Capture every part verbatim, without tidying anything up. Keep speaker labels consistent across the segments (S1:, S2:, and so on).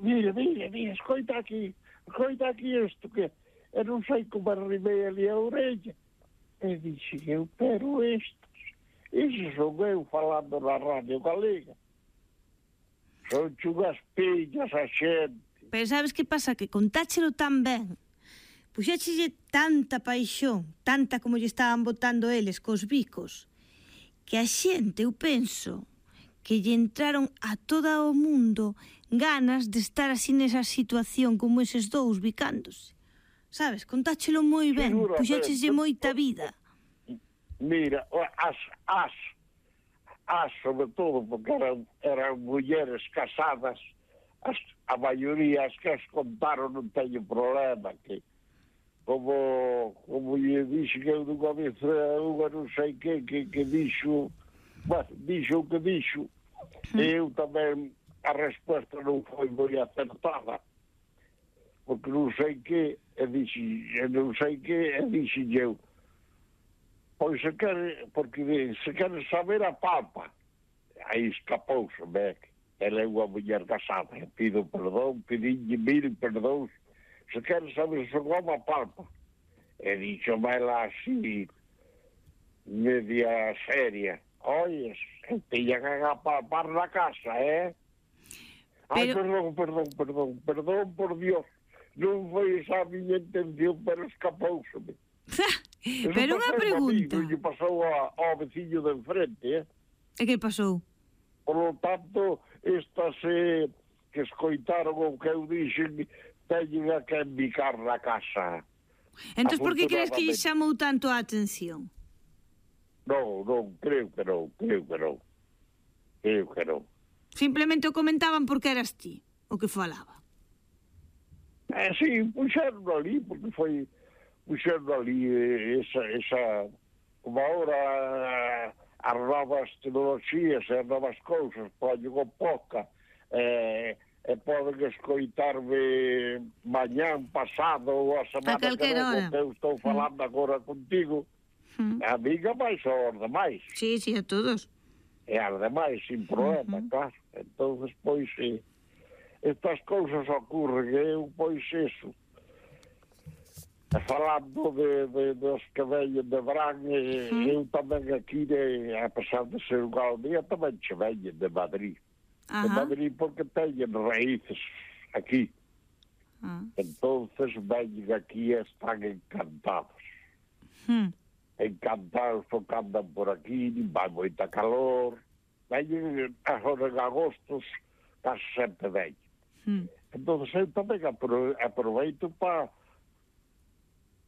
S1: mira, mira, mira, escoita aquí, escoita aquí isto, que eu non sei como arrimei ali a orella. E dixen eu, pero estes, iso son eu falando na radio galega. Son chunhas pillas a xente.
S2: Pero sabes que pasa? Que contáchelo tan ben, puxéchelle tanta paixón, tanta como lle estaban botando eles cos bicos, que a xente, eu penso, que lle entraron a todo o mundo ganas de estar así nesa situación como eses dous bicándose. Sabes, contáchelo moi ben, puxécheslle moita vida.
S1: Mira, as, as, as sobre todo, porque eran, eran mulleres casadas, as, a maioría as que as contaron non teño problema, que como, como lle dixo que eu dunha vez unha non sei que, que, que dixo, bueno, dixo o que dixo, e eu tamén, a resposta non foi moi acertada, porque non sei que, e dixo, non sei que, e dixo eu, pois se quere, porque se quere saber a papa, aí escapouse, me, ela é unha muller casada, e pido perdón, pedinlle mil perdóns, se quere saber se como a papa, e dixo ela así, media seria, oyes, tiñan a palpar na casa, eh? Ai,
S2: Pero...
S1: perdón, perdón, perdón, perdón, por Dios, non foi esa a miña intención, pero escapouseme.
S2: Pero unha pregunta.
S1: Iso pasou ao veciño de enfrente, eh?
S2: E que pasou?
S1: Por lo tanto, estas eh, que escoitaron o que eu dixen, teñen a que envicar na casa.
S2: Entón, por que crees que lle chamou tanto a atención?
S1: Non, non, creo que non, creo que non. Creo que non.
S2: Simplemente o comentaban porque eras ti o que falaba.
S1: Eh, sí, puxeron ali, porque foi... puxeron ali esa... esa como agora as novas tecnologías e as novas cousas, poñen o poca, eh, e poden escoitarme mañán, pasado ou a semana que vem, que eu estou falando mm. agora contigo, mm. a miga máis ou os demais.
S2: Sí, sí, a todos.
S1: E as demais, sin problema, mm-hmm. claro. Entón, pois, eh, estas cousas ocorren, eu, pois, eso, falando de, de, dos que veñen de Brán, eh, mm. eu tamén aquí, de, a pesar de ser unha aldea, tamén che veñen de Madrid. Ajá. De Madrid porque teñen raíces aquí. Ah. Entonces veñen aquí e están encantados. Mm. Encantados porque andan por aquí, nin vai moita calor. Veñen agora en agostos, casi sempre veñen. Mm. Entonces eu tamén aproveito para,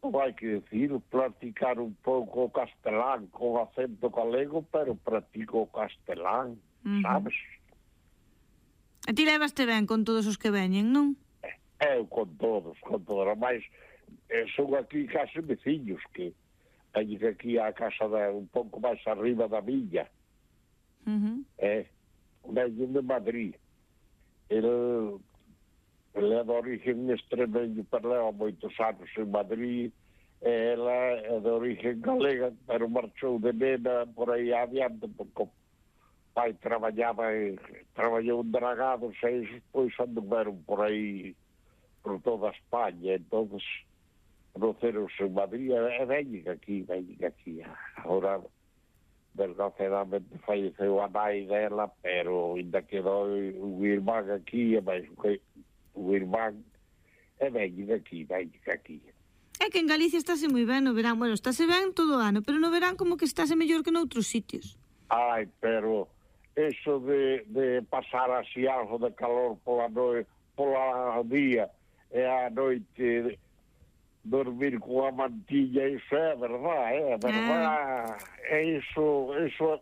S1: hai que decir, practicar un pouco o castelán con acento galego, pero practico o castelán, mm-hmm. sabes?
S2: A ti levaste ben con todos os que veñen, non?
S1: Eu con todos, con todos. Mas son aquí case veciños que veñen aquí á casa de, un pouco máis arriba da villa. Uh-huh. Eh, veñen de Madrid. Ele, ele é de origen extremeño, pero leva moitos anos en Madrid. E ela é de origen galega, pero marchou de nena por aí adiante, porque pai traballaba e traballou en dragados e despois anduveron por aí por toda España, entonces conoceronse en Madrid e veñen aquí, veñen aquí. Agora, desgraciadamente, falleceu a nai dela, pero ainda quedou un irmán aquí, e máis un irmán, e veñen aquí, veñen aquí.
S2: É que en Galicia estáse moi ben no verán, bueno, estáse ben todo o ano, pero no verán como que estáse mellor que noutros sitios.
S1: Ai, pero eso de, de pasar así algo de calor pola noite, pola día e a noite dormir con a mantilla, iso é verdad, é verdad, é iso, iso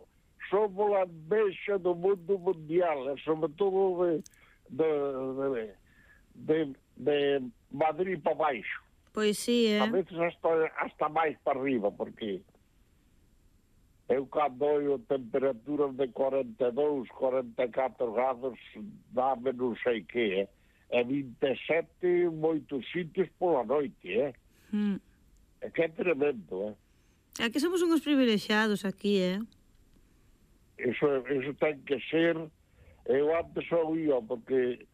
S1: somos a envexa do mundo mundial, e sobre todo de, de, de, de, de Madrid para baixo.
S2: Pois sí, é.
S1: A veces hasta, hasta máis para arriba, porque eu cando oio temperaturas de cuarenta e dous, cuarenta e catro grados, dame non sei que, eh? E vinte e sete moitos sitios pola noite, eh? Mm. É que é tremendo, eh?
S2: É que somos uns privilexiados aquí, eh?
S1: Eso, eso ten que ser... Eu antes oía, porque